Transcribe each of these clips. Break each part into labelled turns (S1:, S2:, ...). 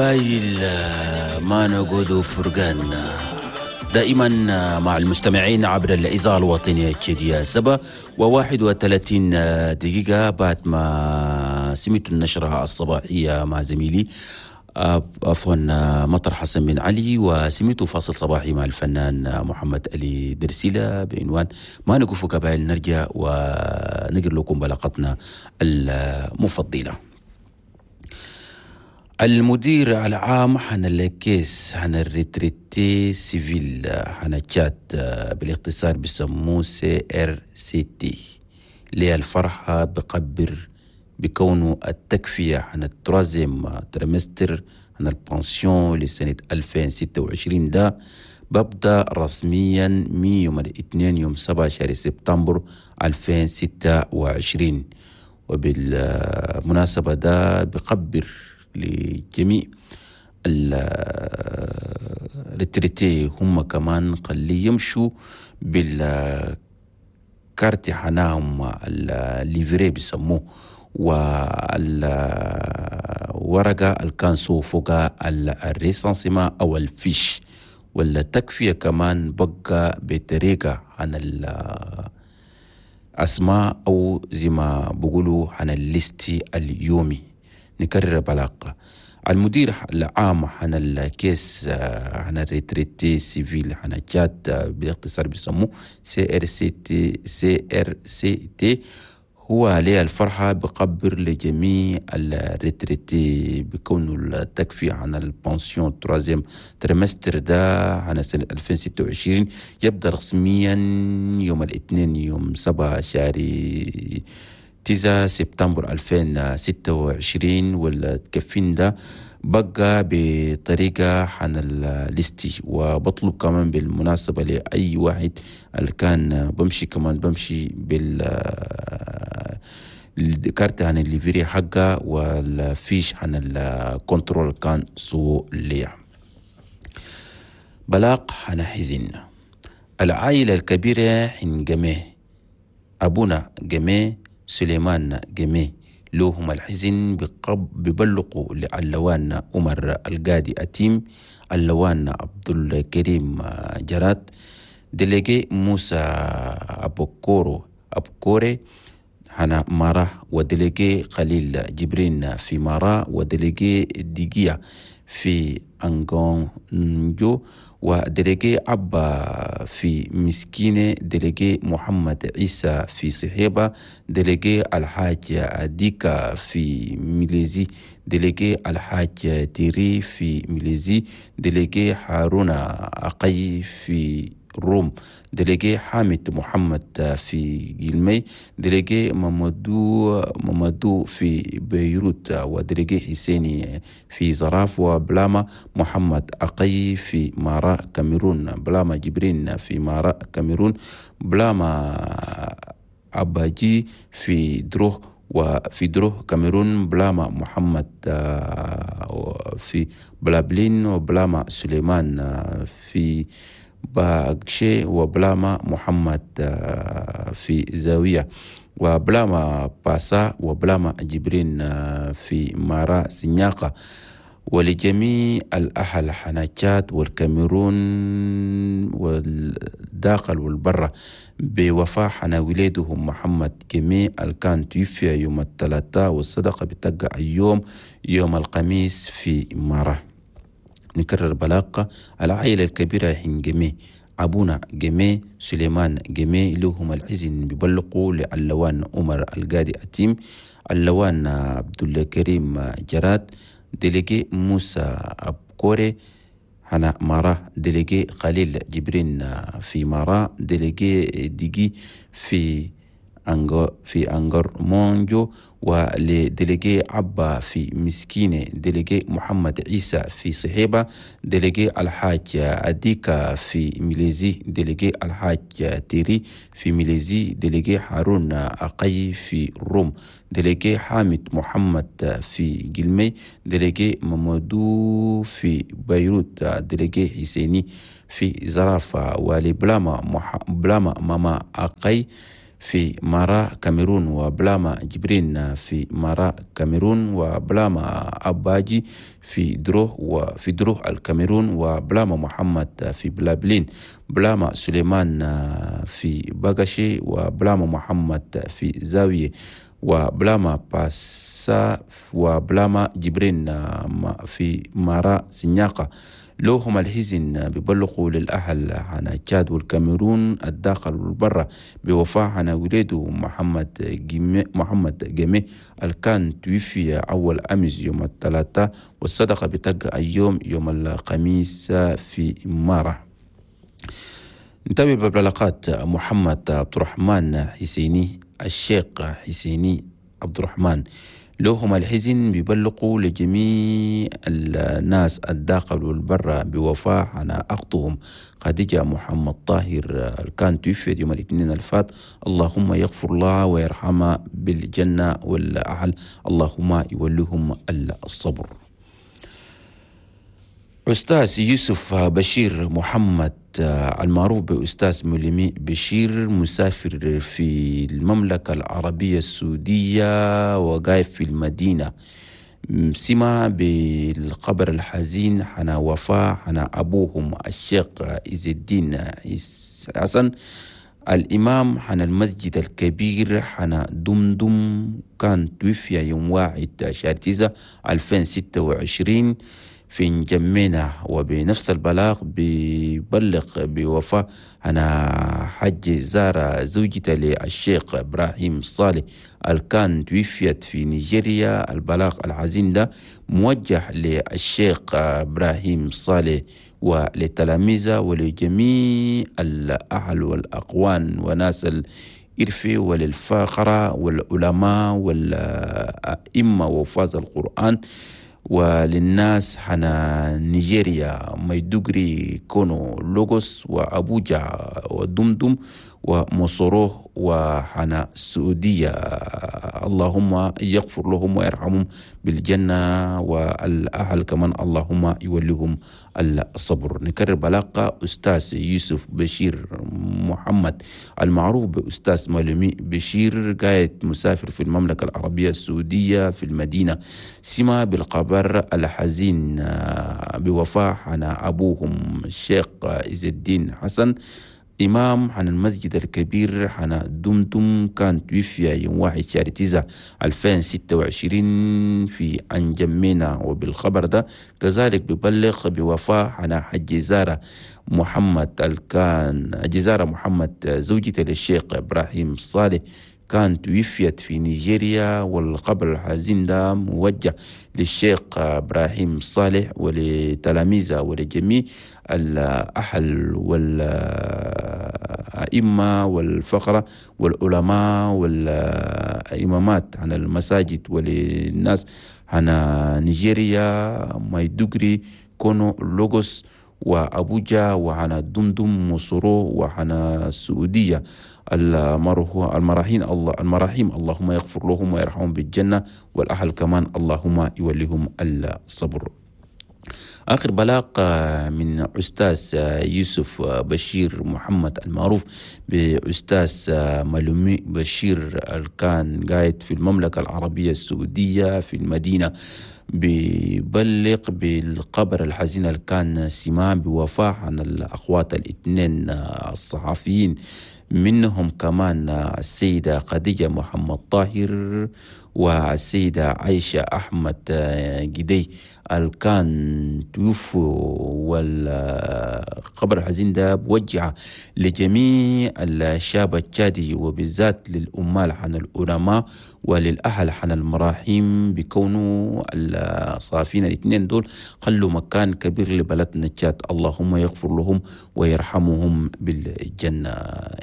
S1: قبايل ما نقود فرقان دائما مع المستمعين عبر الإذاعة الوطنية التشادية. 7:31 بعد ما سمعت النشرة الصباحية مع زميلي عفوا مطر حسن بن علي، وسمعت فاصل صباحي مع الفنان محمد علي درسيلة بعنوان ما نقف قبائل. نرجع ونقر لكم بلاغتنا المفضلة. المدير العام حنا la caisse حنا ال retraités civils حنا تشاد، بالاختصار بيسموه CRCT، ليه الفرحة بقبر بكونه التكفية حنا ال troisième trimestre حنا ال pension لسنة 2026 ده ببدأ رسميا من يوم الاثنين يوم 7 شهر سبتمبر 2026. وبالمناسبة ده بقبر لجميع ال retraités هم كمان خلي يمشوا بالكارت حناهم ال livret بيسموه، والورقة الكانسو فوق ال recensement أو ال fiche، ولا تكفية كمان بقى بطريقة عن الأسماء أو زي ما بقولوا عن ال liste اليومي. نكرر بلاقة المدير العام عن ال caisse عن ال retraités civils عن تشاد، بالاختصار بيسموه سي ار سي تي، سي ار سي تي، هو عليه الفرحة بقبر لجميع ال retraités بكونه التكفي عن ال pension troisième trimestre ده عن سنة 2026 يبدأ رسميا يوم الاثنين يوم 7 شهر 9 سبتمبر 2026. والتكفين ده بقى بطريقة عن ال liste. وبطلب كمان بالمناسبة لأي واحد اللي كان بمشي كمان بمشي بال الكارت عن ال livret حقه وال fiche عن ال contrôle كان سو ليا. بلاغ عن حزن العائلة الكبيرة حين جميع أبونا جميع سليمان جميع لهم الحزن ببلقوا لعلوان عمر القادي أتيم، اللوان عبد الكريم جرات، délégué موسى أبوكورو أبكوري هنا مارا، و délégué خليل جبرين في مارا، و délégué ديجيا في أنغونجو، و délégué عبا في مسكينة، délégué محمد عيسى في صحيبة، délégué الحاج أديكا في ميليزي، délégué الحاج تيري في ميليزي، délégué هارون أقي في روم، délégué حامد محمد في جلمي، délégué مامادو في بيروت، و délégué حسيني في زراف، وبلاما محمد أقي في مارا كاميرون، بلاما جبرين في مارا كاميرون، بلاما أباجي في دروه وفي دروه كاميرون، بلاما محمد في بلابلين، وبلاما سليمان في باكشي، وبلاما محمد في زاوية، وبلاما باسا، وبلاما جبرين في مارا سنياقة. ولجميع الأهل حناتشات والكاميرون والداخل والبرة بوفاة حنا ولادهم محمد جميع الكان توفي يوم الثلاثاء، والصدقة بتقع اليوم يوم الخميس في مارا. نكرر بلاقة العائلة الكبيرة حين جميع أبونا جميع سليمان جميع لهم الحزن ببلقوا لعلوان عمر القادي أتيم، اللوان عبد الكريم جرات، délégué موسى أبكوري هنا مارا، délégué خليل جبرين في مارا، délégué ديجي في أنجر مونجو، ول délégué عبا في مسكينة، délégué محمد عيسى في صحيبة، délégué الحاج أديكا في ميليزي، délégué الحاج تيري في ميليزي، délégué هارون أقي في روم، délégué حامد محمد في جلمي، délégué مامادو في بيروت، délégué حسيني في زرافة، ولبلاما بلاما ماما أقي في مارا كاميرون، وبلاما جبرين في مارا كاميرون، وبلاما أباجي في دروه وفي دروه الكاميرون، وبلاما محمد في بلابلين، بلاما سليمان في بغشي، وبلاما محمد في زاوية، وبلاما باسا، وبلاما جبرين في مارا سنياقة. لوهم الحزن ببلغوا للأهل عن تشاد والكاميرون الداخل والبرة بوفاة عن وليده محمد جمي الكان توفي أول أمس يوم الثلاثاء، والصدقة بتقع اليوم يوم الخميس في مارا. نتابع ببلاغات محمد عبد الرحمن حسيني الشيخ حسيني عبد الرحمن. لهم الحزن بيبلغوا لجميع الناس الداخل والبرة بوفاة عن أختهم خديجة محمد طاهر كان توفيت يوم الاثنين الفات. اللهم يغفر لها ويرحمها بالجنة والأهل، اللهم يوليهم الصبر. أستاذ يوسف بشير محمد المعروف بأستاذ ملمي بشير، مسافر في المملكة العربية السعودية وقايف في المدينة، سمع بالخبر الحزين حنا وفاة حنا أبوهم الشيخ عز الدين حسن الإمام حنا المسجد الكبير حنا دمدم، كان توفي يوم 1/9/2026 في نجمينا. وبنفس البلاغ ببلغ بوفاة أنا حج زار زوجته للشيخ إبراهيم صالح الكان توفيت في نيجيريا. البلاغ الحزين ده موجه للشيخ إبراهيم صالح ولتلاميذه ولجميع الأهل والأقوان وناس الإرفي وللفاخرة والعلماء والأئمة وفاز القرآن وللناس حنا نيجيريا ميدوغري كونو لوغوس وأبوجا ودمدم ومصروه وحنا السعودية. اللهم يغفر لهم ويرحمهم بالجنة والأهل كمان اللهم يوليهم الصبر. نكرر بلاقة أستاذ يوسف بشير محمد المعروف بأستاذ مالمي بشير، قاعد مسافر في المملكة العربية السعودية في المدينة، سمع بالخبر الحزين بوفاة حنا أبوهم الشيخ عز الدين حسن إمام عن المسجد الكبير حنا دمدم، كان توفي يوم 1/9/2026 في أنجمينا. وبالخبر ده كذلك ببلغ بوفاة حنا حج زارة محمد الكان جزارة محمد زوجته للشيخ إبراهيم صالح، كان توفيت في نيجيريا. والخبر الحزين ده موجه للشيخ إبراهيم صالح ولتلاميذه ولجميع الأهل والأئمة والفقرة والعلماء والإمامات عن المساجد وللناس عن نيجيريا ميدوغري كونو لوغوس وأبوجا وعن دمدم مصرو وعن السعودية. المراحيم اللهم يغفر لهم ويرحمهم بالجنة والأهل كمان اللهم يوليهم الصبر. آخر بلاغ من أستاذ يوسف بشير محمد المعروف بأستاذ ملومي بشير كان قاعد في المملكة العربية السعودية في المدينة، ببلغ بالقبر الحزين اللي كان سمع بوفاة عن الأخوات الاثنين الصحفيين، منهم كمان السيدة خديجة محمد طاهر والسيدة عائشة أحمد جدي الكان توفوا. والخبر الحزين ده بوجع لجميع الشاب التشادي وبالذات للأمال عن العلماء وللأهل عن المراحيم، بكونوا الصافين الاثنين دول خلوا مكان كبير لبلدنا تشاد. اللهم يغفر لهم ويرحمهم بالجنة،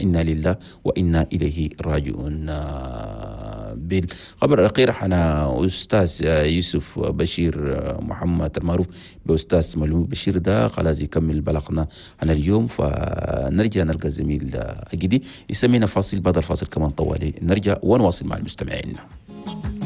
S1: إنا لله وإنا إليه راجعون. بالخبر الأخير حنا أستاذ يوسف بشير محمد المعروف بأستاذ ملوم بشير ده خلاص يكمل بلغنا عن اليوم، فنرجع نلقى الزميل أجدي يسمينا فاصل، بعد الفاصل كمان طوالي نرجع ونواصل مع المستمعين.